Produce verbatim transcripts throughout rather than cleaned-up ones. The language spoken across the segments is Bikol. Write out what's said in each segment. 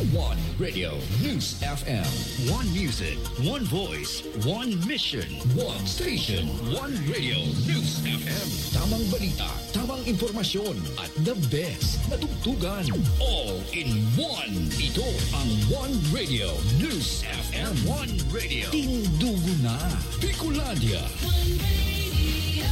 One Radio News F M. One music, one voice, one mission, one station. One Radio News F M. Tamang balita, tamang impormasyon, at the best na tugtugan. All in one. Ito ang One Radio News F M. One Radio. Tindugo na. Bicolandia. One Radio.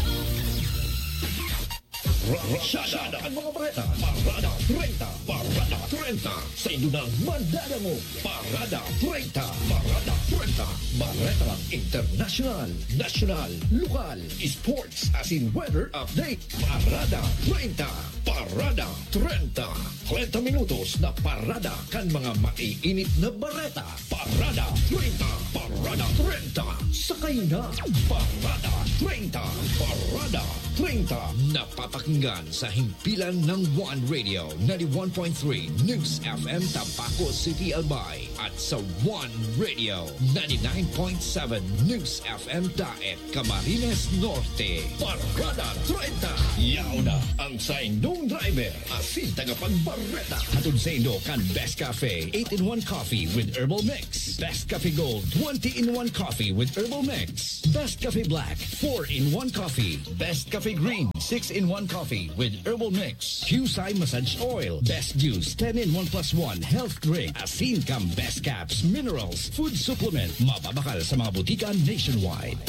Ra-, ra-, Shada ang mga bareta. Parada treinta. Parada treinta. Sa indo ng madadangog. Parada treinta. Parada treinta. Baretang internasyonal, nasyonal, lokal, sports, asin weather update. Parada treinta. Parada treinta. Treinta minutos na parada kan mga maiinit na bareta. Parada treinta. Parada treinta. Sakay na. Parada treinta. Parada treinta. Napapakinggan sa himpilan ng One Radio, ninety-one point three News F M Tabaco City, Albay, at sa One Radio, ninety-nine point seven News F M Daet, Camarines Norte. Parada treinta. Yaon na ang saindong driver asin tagapagbareta. Hatod saindo kan Best Cafe eight-in-one Coffee with Herbal Mix, Best Cafe Gold twenty-in-one Coffee with Herbal Mix, Best Cafe Black four-in-one Coffee, Best Cafe Green six-in-one Coffee with Herbal Mix, Qcye Massage Oil, Best Juice ten-in-one plus one Health Drink, asin kan Best Caps Minerals Food Supplement. Mababakal sa mga butika nationwide.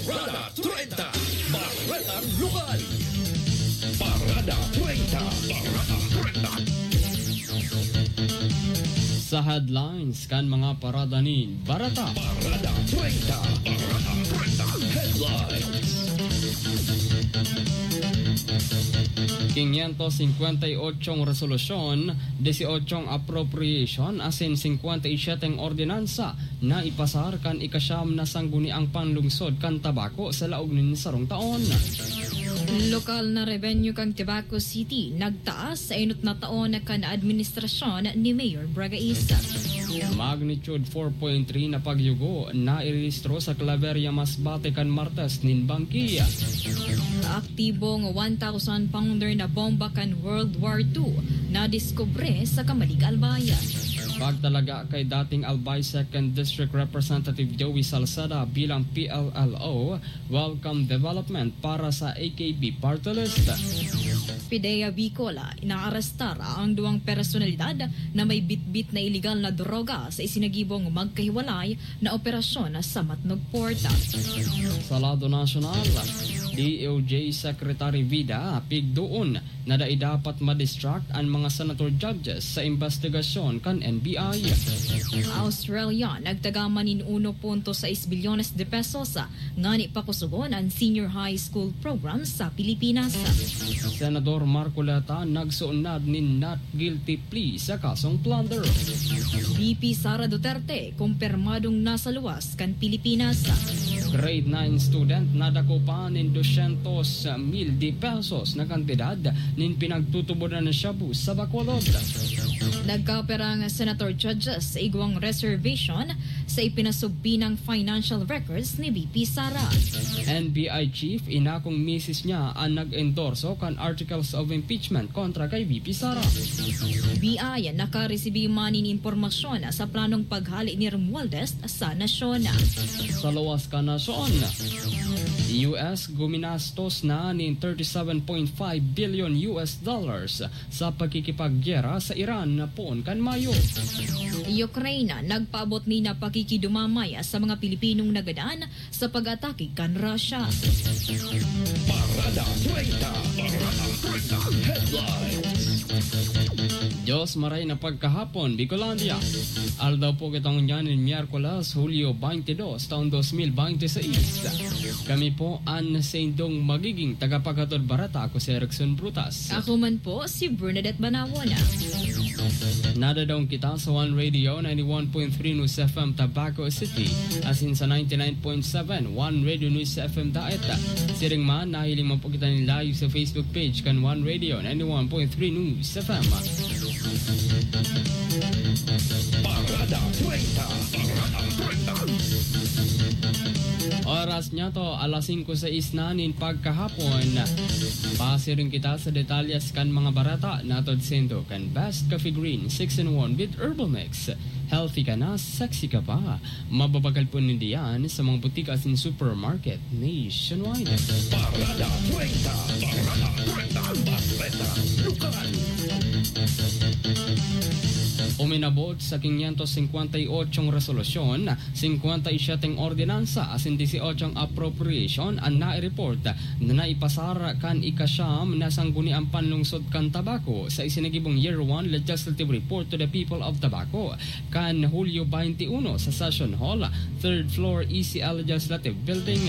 Parada treinta. Baretang lokal. Parada treinta. Parada treinta. Sa headlines kan mga parada nin bareta. Parada treinta. Parada treinta. Headlines. Quinientos cincuenta y ocho resolusyon, dieciocho appropriation asin cincuenta y siete ordinansa na ipasar kan ikasyam na sangguniang panlungsod kan Tabaco sa laog nin sarong taon. Lokal na revenue kan Tabaco City nagtaas sa enot na taon kan administrasyon ni Mayor Bragais. Magnitude four point three na pagyugo nairehistro sa Claveria, Masbate kan Martes nin banggi. Aktibong one thousand pounder na bomba kan World War two nadiskubre sa Camalig, Albay. Pagtalaga kay dating Albay Second District Representative Joey Salceda bilang P L L O, welcome development para sa A K P party list. PDEA Bicol, inaarestar ang duwang personalidad na may bitbit na iligal na droga sa isinagibong magkahiwalay na operasyon sa Matnog Port. Sa lado nasyonal, D O J Secretary Vida pigdoon na dai dapat ma-distract an mga senator judges sa imbestigasyon kan N B I. Australia nagtaga man nin uno punto sais bilyones de pesos ngani pakusogon an senior high school program sa Pilipinas. Senador Marcoleta nagsunnad nin not guilty plea sa kasong plunder. V P Sara Duterte kumpirmadong nasa luwas kan Pilipinas. Grade nine student nadako pa nin dosyentos mil de pesos na kantidad nin pinagtutubodan na shabu sa Bacolod. Nagkapera ang senator judges sa igwang reservation sa ipinasubpinang financial records ni V P Sara. N B I chief inakong misis niya an nag-endorso kan articles of impeachment kontra kay V P Sara. B I nakaresibi man nin impormasyon sa planong paghale ni Romualdez sa nasyon. Sa luwas kan nasyon, U S guminastos na nin thirty-seven point five billion U S dollars sa pagkikipaggera sa Iran poon kan Mayo. Ukraine nagpaabot nin pakikidumamay sa mga Pilipinong nagadan sa pag-atake kan Russia. Parada treinta. Parada treinta. Headlines. Diyos maray na pagkahapon, Bicolandia. Aldaw po kitang ngunyan nin Miyerkules, Hulyo twenty-two, taon dos mil binte seis. Kami po an saindong magiging tagapaghatod bareta. Ako si Erickson Brutas. Ako man po si Bernadette Banawon. Nadadaong kita sa One Radio ninety-one point three News F M Tabaco City, asin sa ninety-nine point seven One Radio News F M Daet. Siring man, nahiling man po kita nin live sa Facebook page kan One Radio ninety-one point three News F M. Parada treinta. Parada treinta. Oras niya to, alas singko sais na nin pagkahapon. Pasiring kita sa detalyes kan mga bareta na atod saindo kan Best Coffee Green six in one with Herbal Mix. Healthy ka na, sexy ka pa. Mababagal po ninda yan sa mga butika asin supermarket nationwide. Parada treinta. Parada treinta. Ang bareta. Lokal. Uminabot sa quinientos cincuenta y ocho resolusyon, cincuenta y siete ordinansa asin dieciocho appropriation an nai-report na naipasar kan ikasyam na Sangguniang Panlungsod kan Tabaco sa isinagibong Year one Legislative Report to the People of Tabaco kan Hulyo twenty-one sa Session Hall, third floor, E C L Legislative Building.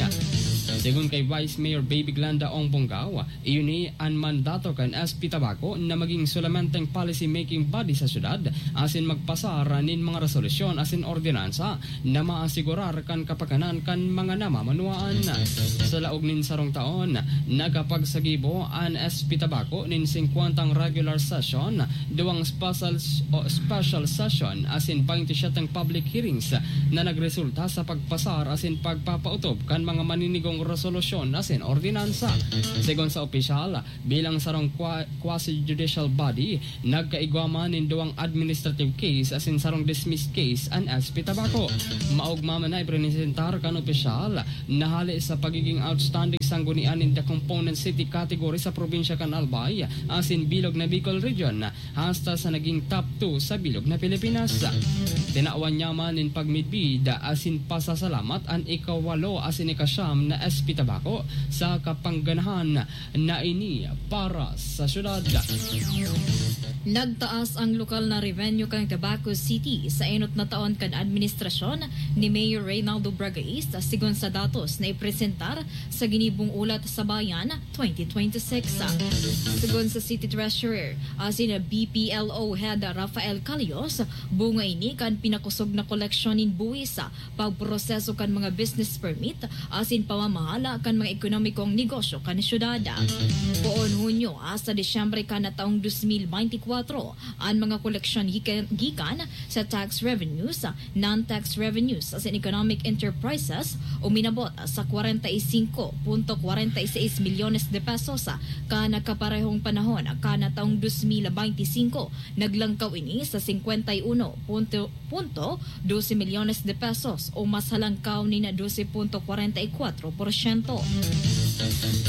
Segun kay Vice Mayor Baby Glenda Ong Bongao, iyo ni an mandato kan S P Tabaco na maging solamenteng policy-making body sa syudad asin magpasar nin mga resolusyon asin ordinansa na maasigurar kan kapakanan kan mga namamanwaan. Sa laog nin sarong taon, nakapagsagibo an S P Tabaco nin singkwentang regular session, duwang special, o special session asin twenty-seven public hearings na nagresulta sa pagpasar asin pagpapautob kan mga maninigong resolusyon asin ordinansa. Segun sa opisyal, bilang sarong qua-, quasi-judicial body, nagkaigwa man nin duwang administrative case asin sarong dismissed case an S P Tabaco. Maogma man na ipresentar kan opisyal na hale sa pagiging outstanding sanggunian in the component city category sa probinsya kan Albay asin bilog na Bicol Region, hasta sa naging top two sa bilog na Pilipinas. Tinawan niya man nin pagmidbid asin pasasalamat an ikawalo asin ikasyam na S P Tabaco sa kapangganahan na ini para sa syudad. Nagtaas ang lokal na revenue kan Tabaco City sa enot na taon kan administrasyon ni Mayor Reynaldo Bragaista, segun sa datos na ipresentar sa Ginibong Ulat sa Bayan twenty twenty-six. Segun sa City Treasurer asin B P L O Head Rafael Calios, bunga ini kan pinakosog na koleksyon nin buwis, pagproseso kan mga business permit, asin pamamahala kan mga ekonomikong negosyo kan syudad. Poon Hunyo hasta Disyembre kan taong dos mil beintikwatro, an mga koleksyon gikan, gikan sa tax revenues, non-tax revenues, asin economic enterprises uminabot sa kwarenta y singko punto kwarenta y seis milyones de pesos. Kan kaparehong panahon kan taong dos mil beintisinko, naglangkaw ini sa singkwenta y uno punto, punto dose milyones de pesos o mas halangkaw nin dose punto kwarenta y kwatro porsyento.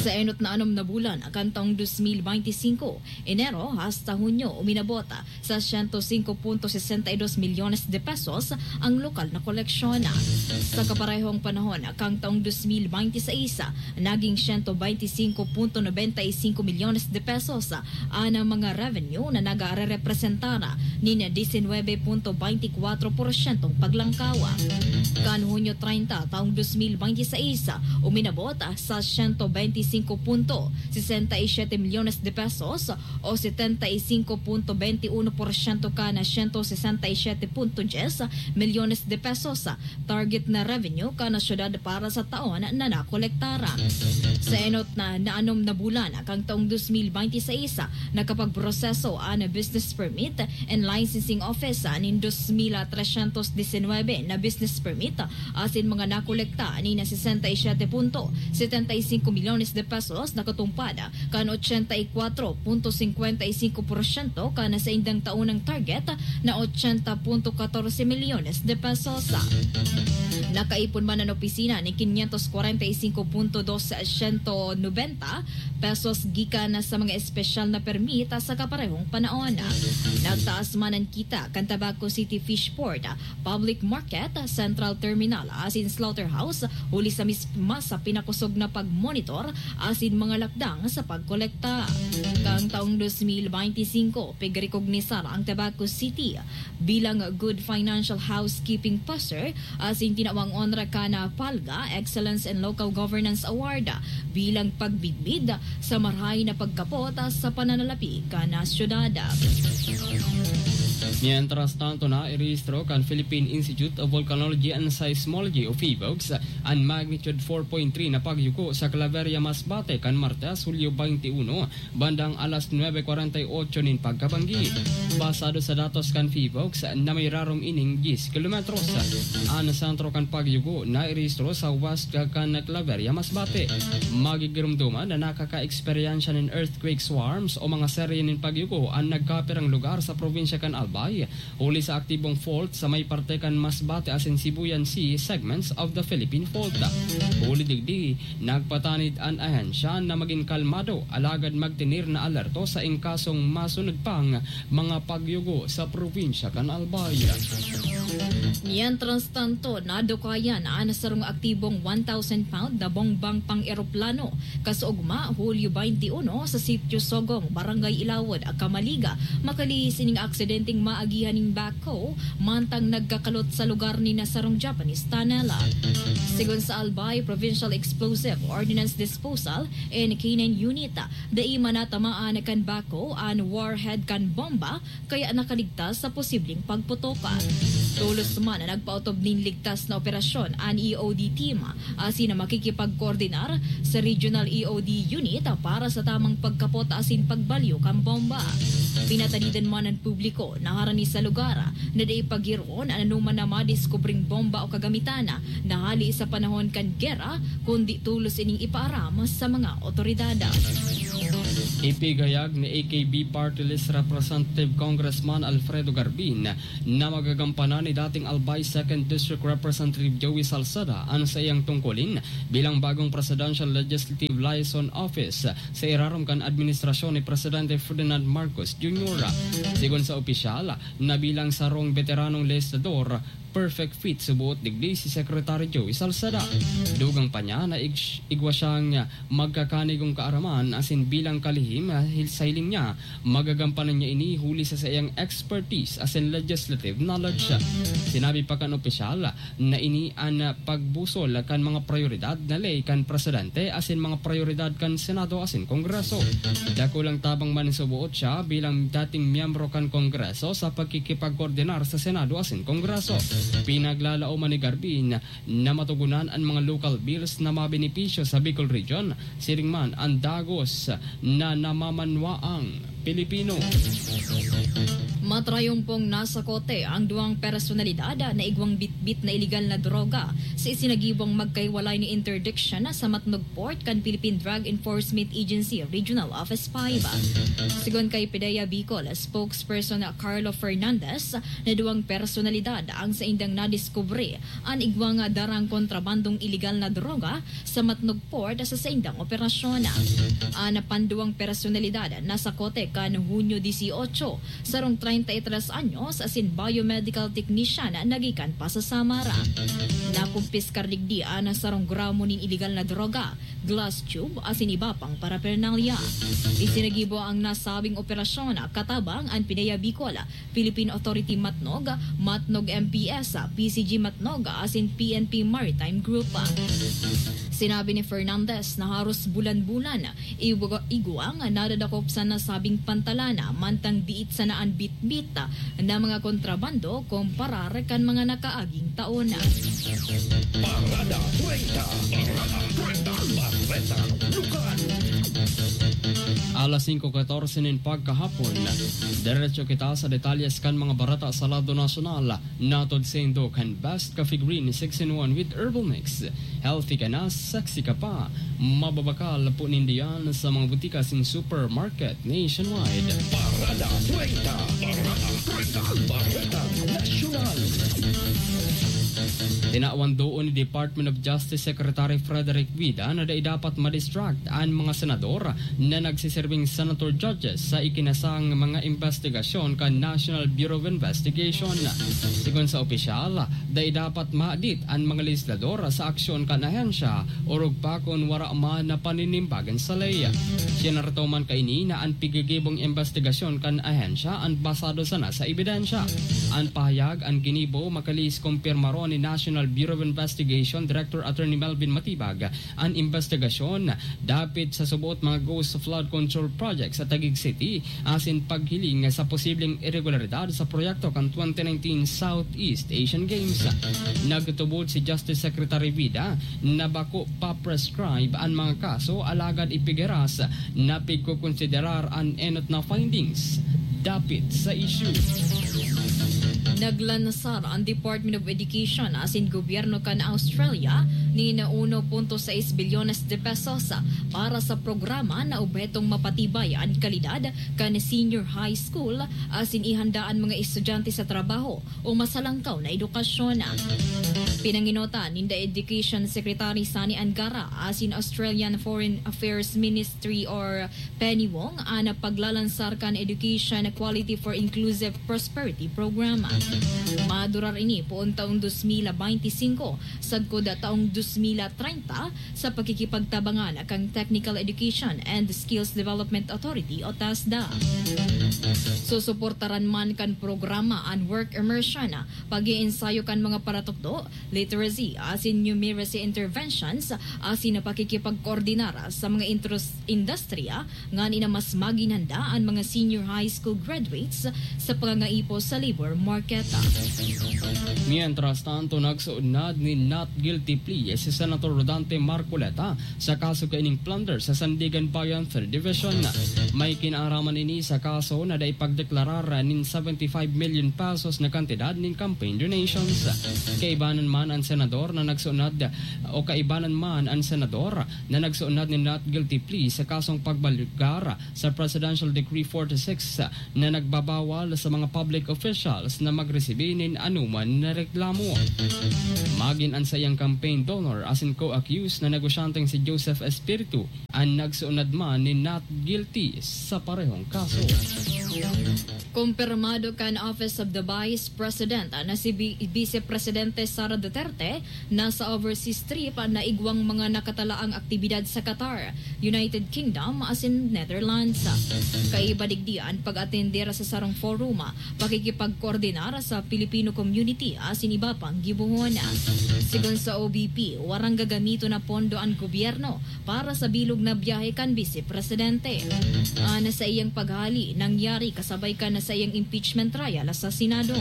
Sa enot na anom na bulan kan taong dos mil beintisinko, Enero hasta Hunyo, uminabot sa siyento singko punto sesenta y dos milyones de pesos ang lokal na koleksyon. Sa kaparehong panahon kan taong dos mil beintiseis, naging siyento beintisinko punto nobenta y singko milyones de pesos an mga revenue na nagarerepresentar nin disinwebe punto beintikwatro porsyentong paglangkaw. Kan Hunyo treinta taong dos mil beintiseis, uminabot sa siyento beintisinko punto sesenta y siyete milyones de pesos o setenta y singko punto beintiuno porsyento kan siyento sesenta y siyete punto dyes milyones de pesos target na revenue kan syudad para sa taon na nakolektar. Sa enot na naanom na bulan kan taong dos mil beintiseis, nakapagproseso an business permit and licensing office nin dos mil tresyentos disinwebe na business permit asin mga nakolekta nin sesenta y siyete punto setenta y singko milyones de pesos, nakatungpad kan ochenta y kwatro punto singkwenta y singko porsyento kan saindang taonang target na ochenta punto katorse milyones de pesos. Nakaipon man an opisina nin quinientos kwarenta y singko punto dos siyento nobenta pesos gikan sa mga espesyal na permit sa kaparehong panahon. Nagtaas man an kita kan Tabaco City Fishport, Public Market, Central Terminal asin Slaughterhouse, huli sa misma sa pinakosog na pagmonitor asin mga lakdang sa pagkolekta. Kan taong dos mil beintisinko, pigrekognisar ang Tabaco City bilang Good Financial Housekeeping Passer asin tinawang Onra kan PALGA Excellence in Local Governance Award bilang pagmidbid sa marahay na pagkapot sa pananalapi kan syudad. Mientras tanto, nairehistro kan Philippine Institute of Volcanology and Seismology o PHIVOLCS an magnitude four point three na pagyuko sa Claveria, Masbate kan Martes, Hulyo twenty-one, bandang alas nuebe kwarenta y ocho nin pagkabanggi. Basado sa datos kan PHIVOLCS na may rarom ining diyes kilometros, an sentro kan pagyugo nairehistro sa west kan Claveria, Masbate. Magigiromdoman na nakaka-eksperyensya nin earthquake swarms o mga serye nin pagyugo an nagkapirang lugar sa probinsya kan Albay, huli sa aktibong fault sa may parte kan Masbate asin Sibuyan Sea segments of the Philippine Fault. Huli digdi, nagpatanid an ahensya na magin kalmado alagad magtener na alerto sa in kasong masunod pang mga pagyugo sa probinsya kan Albay. Mientras tanto, nadukayan an sarong aktibong one thousand pound na bombang pang-eroplano kasuugma, Hulyo twenty-one, sa Sitio Sogong, Barangay Ilawod, Camaliga, makalihis ining aksidenteng maagihan nin backhoe mantang nagkakalot sa lugar nin sarong Japanese tunnel. Sigon sa Albay Provincial Explosive Ordnance Disposal and K nine Unit, dai man natamaan kan backhoe an warhead kan bomba, kaya nakaligtas sa posibleng pagputok. Tolos man na nagpaotob nin ligtas na operasyon an E O D team, asin na makikipagkoordinar sa Regional E O D Unit para sa tamang pagkapot asin pagbalyo kan bomba. Pinatanidan man an publiko na harani sa lugar na dai paggiroon an anoman na madiskubreng bomba o kagamitan na hali sa panahon kan gera, kundi tolos ining ipaaram sa mga otoridad. Ipigayag ni A K B Party List Representative Congressman Alfredo Garbin na magagampanan ni dating Albay Second District Representative Joey Salceda an saiyang tungkulin bilang bagong Presidential Legislative Liaison Office sa irarom kan administrasyon ni Presidente Ferdinand Marcos Junior. Sigon sa opisyal, na bilang sarong beteranong legislador, perfect fit suboot digdi si Secretary Joey Salceda. Dugang pa niya na ig-, igwa siyang magkakanigong kaaraman asin bilang kalihim sa hiling niya, magagampanan niya ini huli sa saiyang expertise asin legislative knowledge. Sinabi pa kan opisyal na ini an pagbusol kan mga prioridad na ley kan presidente asin mga prioridad kan Senado asin Kongreso. Dakulang tabang man suboot siya bilang dating miyembro kan Kongreso sa pagkikipagkoordinar sa Senado asin Kongreso. Pinaglalaoman ni Garbin na matugunan an mga local bills na mabenepisyo sa Bicol Region, siring man an dagos na namamanwaang Pilipino. Matrayumpong nasakote ang duwang personalidad na igwang bitbit na iligal na droga sa isinagibong magkahiwalay na interdiction sa Matnog Port kan Philippine Drug Enforcement Agency Regional Office five. Sigon kay PDEA Bicol spokesperson na Carlo Fernandez, na duwang personalidad ang saindang nadiskubre an igwang darang kontrabandong iligal na droga sa Matnog Port sa saindang operasyon. An panduwang personalidad nasakote kan Hunyo dieciocho, sarong treinta y tres anyos asin biomedical technician na nagikan pa sa Samar. Nakumpiskar digdi an sarong gramo nin iligal na droga, glass tube asin iba pang paraphernalia. Isinagibo ang nasabing operasyon katabang an PDEA Bicol, Philippine Authority Matnog, Matnog M P S, P C G Matnog asin P N P Maritime Group. Sinabi ni Fernandez na haros bulan-bulan igwa-, igwang nadadakop sa nasabing pantalan, mantang diit sana an bitbit na mga kontrabando kumparar kan mga nakaaging taon. Parada treinta. Parada treinta. Bareta Lokal. Alas singko katorse nin pagkahapon, diretso kita sa detalyes kan mga bareta sa lado nasyonal. Natod saindo kan Best Coffee Green six-in-one with Herbal Mix. Healthy ka na, sexy ka pa. Mababakal po nindo yan sa mga butika asin supermarket nationwide. Parada treinta. Parada treinta. Bareta Nasyonal. Tinawan doon ni Department of Justice Secretary Frederick Vida na dai dapat ma-distract an mga senador na nagsiserbing senator judges sa ikinasang mga imbestigasyon kan National Bureau of Investigation. Sigon sa opisyal, dai dapat maadit an mga legislador sa aksyon kan ahensya, orog pa kun wara man na paninimbagan sa ley. Siya naratoman kaini na an pigigibong imbestigasyon kan ahensya an basado sana sa ebidensya. An pahayag an ginibo makalihis kumpirmaron ni National Bureau of Investigation Director Attorney Melvin Matibag an imbestigasyon dapit sa suboot mga ghost flood control project sa Taguig City asin paghiling sa posibleng iregularidad sa proyekto kan twenty nineteen Southeast Asian Games. Nagtubod si Justice Secretary Vida na bako pa-prescribe an mga kaso, alagad ipigaras na pigkokonsiderar an enot na findings dapit sa issue. Naglansar ang Department of Education asin gobyerno kan Australia nin uno punto sais bilyones de pesos para sa programa na obhetong mapatibay an kalidad kan senior high school asin ihanda an mga estudyante sa trabaho o masalangkaw na edukasyon. Pinanginotan ninda Education Secretary Sani Angara asin Australian Foreign Affairs Ministry or Penny Wong an paglalansar kan Education Quality for Inclusive Prosperity Program. Madurar ini poon taong dos mil benti singko sagkod taong dos mil treinta sa pakikipagtabangan kan Technical Education and Skills Development Authority o TESDA. Susuportaran man kan programa an work immersion, pag-iensayo kan mga paratukdo, literacy asin numeracy interventions, asin pakikipagkoordinar sa mga intros-, industriya ngani na mas magin handa an mga senior high school graduates sa pangangaipo sa labor market. Mientras tanto, nagsuunad nin not guilty plea si Senator Rodante Marcoleta sa kaso kaining plunder sa Sandiganbayan Third Division. May kinaaraman ini sa kaso na dai pagdeklarar nin seventy-five million pesos na kantidad nin campaign donations. Kaibanan man an senador na nagsuunad o kaibanan man an senador na nagsuunad nin not guilty plea sa kasong pagbalugar sa Presidential Decree forty-six na nagbabawal sa mga public officials na magresibi nin anoman na reklamo. Magin an saiyang campaign donor asin co-accused na negosyanteng si Joseph Espiritu an nagsuunad man nin not guilty sa parehong kaso. Kumpirmado kan Office of the Vice President na si Bi-, Vice Presidente Sara Duterte nasa overseas trip na igwang mga nakatalaang aktibidad sa Qatar, United Kingdom asin Netherlands. Kaiba digdi an pag-atender sa sarong forum, pakikipagkoordinar sa Filipino community asin iba pang gibohon. Sigon sa O V P, warang gagamiton na pondo an gobyerno para sa bilog na biyahe kan Bise Presidente. An saiyang paghali nangyari kasabay kan saiyang impeachment trial sa Senado.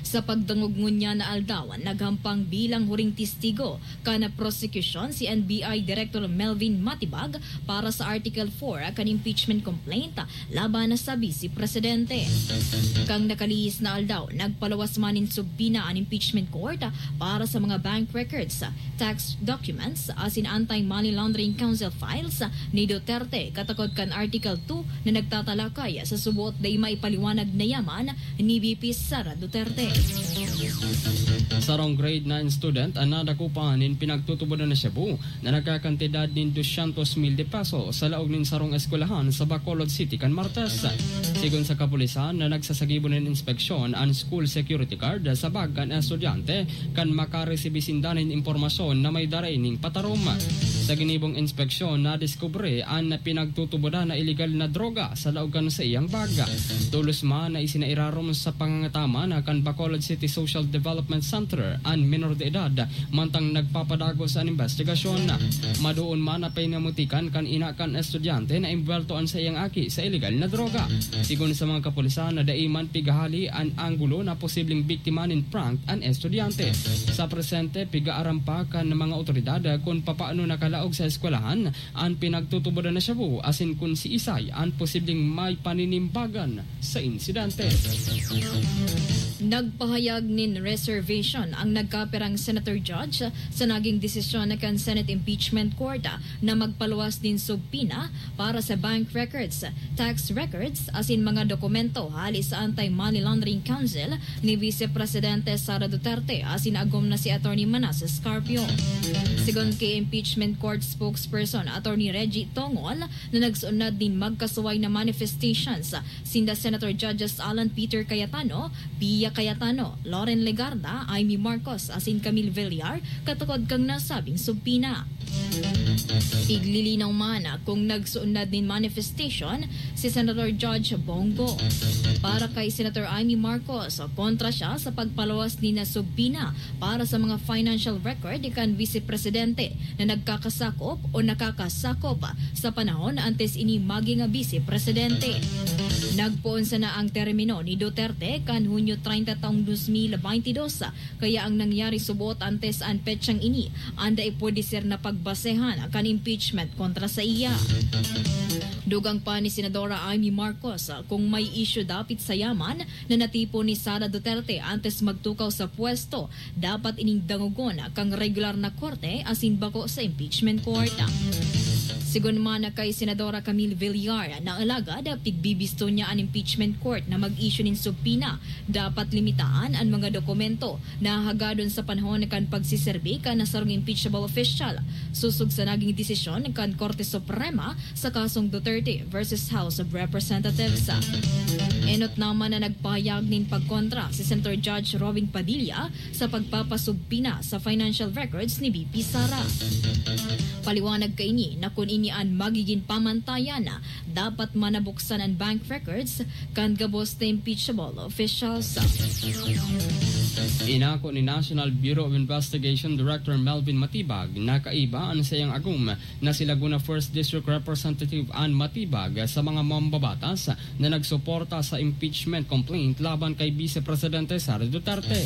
Sa pagdangog ngunyan na aldaw, naghampang bilang huring testigo kan prosekusyon si N B I Director Melvin Matibag para sa Article four kan impeachment complaint laban sa Bise Presidente. Kan nakalihis na aldaw, nagpaluwas man nin subpoena an impeachment court para sa mga bank records, tax documents, asin Anti-Money Laundering Council files ni Duterte katakod kan Article two na nagtatalakay sa suboot dai maipaliwanag na yaman ni V P Sara Duterte. Sarong grade nine student an nadakop nin pinagtutubodan na shabu na nagkakantidad nin dosyentos mil de pesos sa laog nin sarong eskwelahan sa Bacolod City kan Martes. Sigon sa kapulisan na nagsasagibo nin inspeksyon an school security guard sa bag kan estudyante kan makaresibi sinda nin impormasyon na may dara ining patarom. Sa ginibong inspeksyon, nadiskubre an pinagtutubodan na iligal na droga sa laog kan saiyang bag. Tolos man na isinairarom sa pangangataman kan Bacolod City Social Development Center an minor de edad, mantang nagpapadagos an investigasyon. Madoon man na pinamutikan kan ina kan estudyante na imbwelto an saiyang aki sa iligal na droga. Sigon sa mga kapulisan na dai man pigahali an anggulo na posibleng biktima nin prank an estudyante. Sa presente, pigaaram pa kan mga otoridad kun papaano nakalaog sa eskwelahan an pinagtutubodan na shabu asin kun siisay an posibleng may paninimbagan sa insidente. Nagpahayag nin reservation ang nagkapirang senator judge sa naging desisyon kan Senate Impeachment Court na magpaluwas nin subpoena para sa bank records, tax records, asin mga dokumento hali sa Anti-Money Laundering Council ni Vice Presidente Sara Duterte asin agom na si Attorney Manasseh Scarpio. Sigon ki Impeachment Court spokesperson Attorney Reggie Tongol, na nagsunod nin magkasuway na manifestations sinda Senator Judges Alan Peter Cayetano, Pia Cayetano, Loren Legarda, Imee Marcos asin Camille Villar katukod kan nasabing subpoena. Iglilinaw man kung nagsuunad nin manifestation si Senator Judge Bongo. Para kay Senator Imee Marcos, kontra siya sa pagpaluwas nin subpoena para sa mga financial record kan Vice Presidente na nagkakasakop o nakakasakop sa panahon antes ini maging Vice Presidente. Nagpoon sana ang termino ni Duterte kan Hunyo treinta taong dos mil baynte dos, kaya ang nangyari subot antes an petsang ini an dai pwede ser na pagbasehan kan impeachment kontra sa iya. Dugang pa ni Senadora Imee Marcos, kung may isyu dapit sa yaman na natipon ni Sara Duterte antes magtukaw sa pwesto, dapat ining dangogon kan regular na korte asin bako sa impeachment court. Sigon man kay Senadora Camille Villar na alagad pigbibisto niya an impeachment court na mag-issue nin subpoena, dapat limitaan an mga dokumento na hagadon sa panahon kan pagsiserbi kan sarong impeachable official, sosog sa naging desisyon kan Korte Suprema sa kasong Duterte versus House of Representatives. Enot naman na nagpahayag nin pagkontra si Senator Judge Robin Padilla sa pagpapasubpoena sa financial records ni V P Sara. Paliwanag kaini na kun ini an magiging pamantayan, dapat manabuksan an bank records kan gabos na impeachable officials. Inako ni National Bureau of Investigation Director Melvin Matibag na kaiba an saiyang agom na si Laguna First District Representative Ann Matibag sa mga mambabatas na nagsuporta sa impeachment complaint laban kay Vice Presidente Sara Duterte.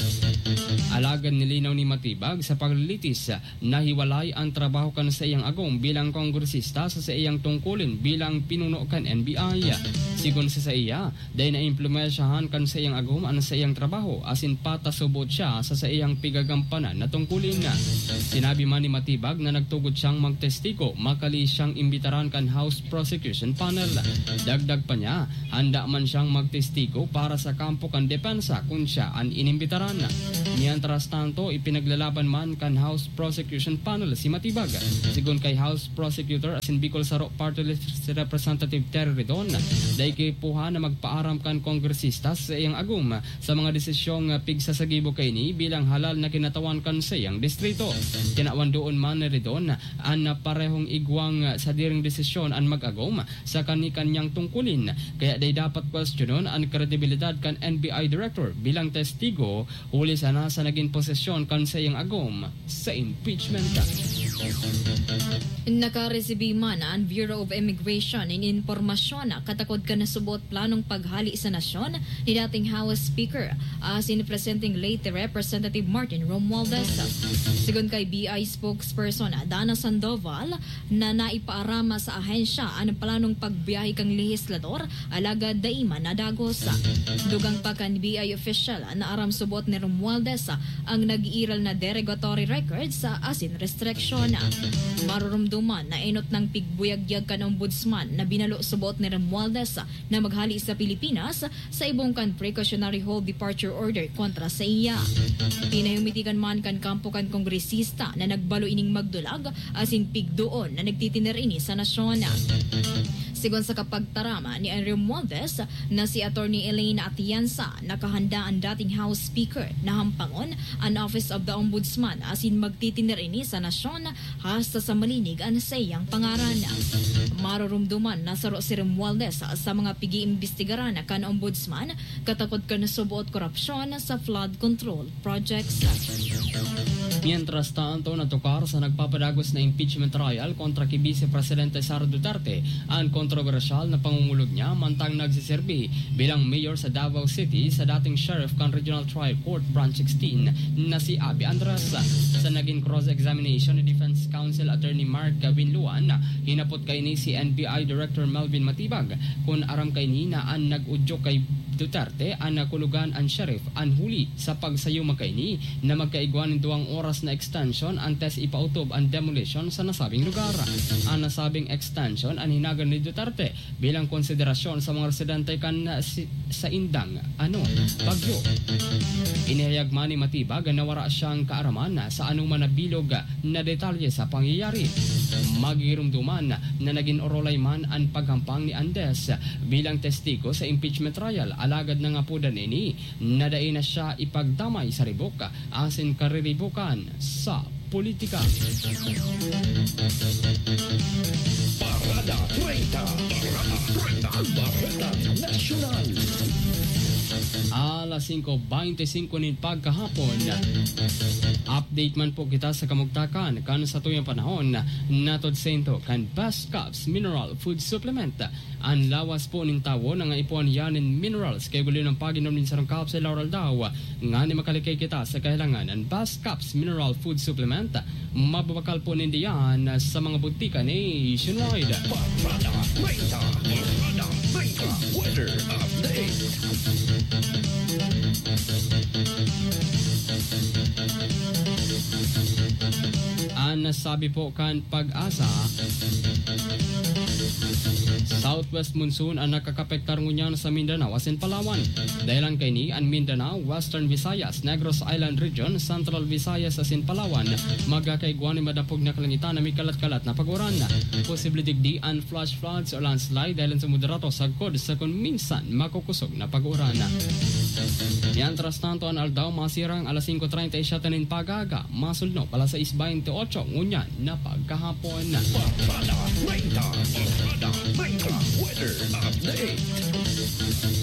Alagad nilinaw ni Matibag sa paglilitis na hiwalay an trabaho kan saiyang agom bilang kongresista sa saiyang tungkulin bilang pinuno kan N B I. Sigon sa saiya, dai naimpluwensyahan kan saiyang agom an saiyang trabaho asin patas subot siya sa saiyang pigagampanan na tungkulin. Sinabi man ni Matibag na nagtugot siyang magtestigo makali siyang imbitaran kan House Prosecution Panel. Dagdag pa niya, handa man siyang magtestigo para sa kampo kan depensa kun siya an inimbitaran. Mientras tanto, ipinaglalaban man kan House Prosecution Panel si Matibag. Sigon kay House Prosecutor asin Bicol Saro Party List Representative Terry Ridon, dai kaipuhan na magpaaram kan kongresista sa iyang agom sa mga desisyong pigsasagibo kaini bilang halal na kinatawan kan saiyang distrito. Tinawan doon man ni Ridon an parehong igwang sadiring desisyon an mag-agom sa kani-kanyang tungkulin, kaya dai dapat kwestiyonon an kredibilidad kan N B I Director bilang testigo, huli sana sa nagin posesyon kan saiyang agom sa impeachment. Nakaresibi man an Bureau of Immigration nin impormasyon katakod kan nasubot planong paghali sa nasyon ni dating House Speaker asin presenting late Representative Martin Romualdez. Sigon kay B I spokesperson Dana Sandoval, na naipaaram sa ahensya an planong pagbiyahe kan lehislador, alagad dai man nadagos. Dugang pa kan B I official na aram subot ni Romualdez ang nag-iiral na derogatory records asin restriction. Marurumduman na enot nang pigbuyagyag kan Ombudsman na binalo subot ni Romualdez na maghali sa Pilipinas sa ibong kan precautionary hold departure order kontra sa iya. Pinahimitikan man kan kampo kan kongresista na nagbalo ining magdulag asin pigdoon na nagtitiner ini sa nasyon. Sigon sa kapagtaram ni Romualdez na si Attorney Elaine Atienza, nakahanda an dating House Speaker na hampangon an Office of the Ombudsman asin magtitiner ini sa nasyon hasta sa malinig an saiyang pangaran. Marurumduman na saro si Romualdez sa mga pig-iimbestigaran kan Ombudsman katakod kan suboot korupsyon sa flood control projects. Mientras tanto, natukar sa nagpapadagos na impeachment trial kontra ki Vice Presidente Sara Duterte an kontrobersyal na pangungulog niya mantang nagsiserbi bilang mayor sa Davao City sa dating sheriff kan Regional Trial Court Branch sixteen na si Abby Andres. Sa naging cross-examination ni Defense Counsel Attorney Mark Winluan, hinapot kaini si N B I Director Melvin Matibag kun aram kaini na an nag-udyok kay Duterte an nakulogan an sheriff, an huli sa pagsayuma kaini na magkaigwa nin duwang oras na extension antes ipautob an demolition sa nasabing lugar. An nasabing extension an hinagan ni Duterte bilang konsiderasyon sa mga residente kan si-, saindang, ano, bagyo. Inihayag man ni Matibag na wara siyang kaaraman sa anoman na bilog na detalye sa pangyayari. Magirumduman na nagin orolay man an paghampang ni Andes bilang testigo sa impeachment trial, alagad nangapodan ini na dai na siya ipagdamay sa ribok asin kariribokan sa Politika. Parada treinta. Parada treinta. Bareta Nasyonal. Alas singko beintisinko nin pagkahapon. Update man po kita sa kamugtakan kan satuyang panahon, natod sento kan Best Caps Mineral Food Supplement. An lawas po nin tawo nangaipuhan yan nin minerals kay guli ng pag-inom nin sarong capsule sa aldaw-aldaw, ngani makalikay kita sa kahilangan. An Best Caps Mineral Food Supplement, mababakal po ninda yan sa mga butika nationwide. Parada treinta, Parada treinta, weather update. An sabi po kan Pag-asa, southwest monsoon an nakakapektar ngunyan sa Mindanao asin Palawan. Dahelan kaini, an Mindanao, Western Visayas, Negros Island Region, Central Visayas asin Palawan, magkakaigwa nin madapog na kalangitan na may kalat-kalat na pag-uran. Posible digdi an flash floods o landslide dahelan sa moderato sagkod sa kun minsan makukosog na pag-uran. Mientras tanto, an aldaw masirang alas singko treinta y siete nin pag-aga, masulnop alas sais beintiotso ngunyan na pagkahapon. Parada treinta, Parada treinta, weather update.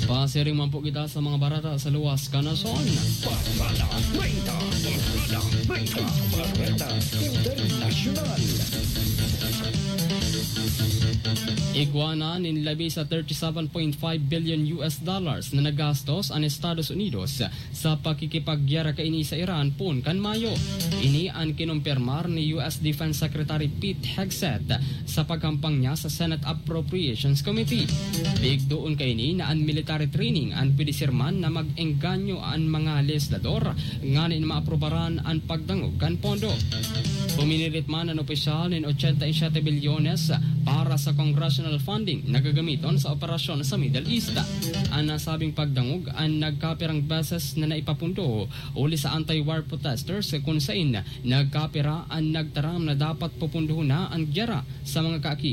Pasiring man po kita sa mga bareta sa luwas kan nasyon. Parada treinta, Parada treinta, Bareta Internasyonal. Igwa na nin labi sa thirty-seven point five billion U S dollars na nagastos an Estados Unidos sa pakikipaggyera kaini sa Iran poon kan Mayo. Ini an kinumpirmar ni U S Defense Secretary Pete Hegseth sa paghampang niya sa Senate Appropriations Committee. Pigdoon kaini na an military training an pwede sirman na mag-engganyo an mga legislador nganing maaprobaran an pagdangog kan pondo. Puminirit man an opisyal nin ochenta y siete bilyones para sa congressional funding na gagamiton sa operasyon sa Middle East. An nasabing pagdangog an nagkapirang beses na naipapundo huli sa anti-war protesters, kun sain nagkapira an nagtaram na dapat pupundohon na an giyera sa mga kaaki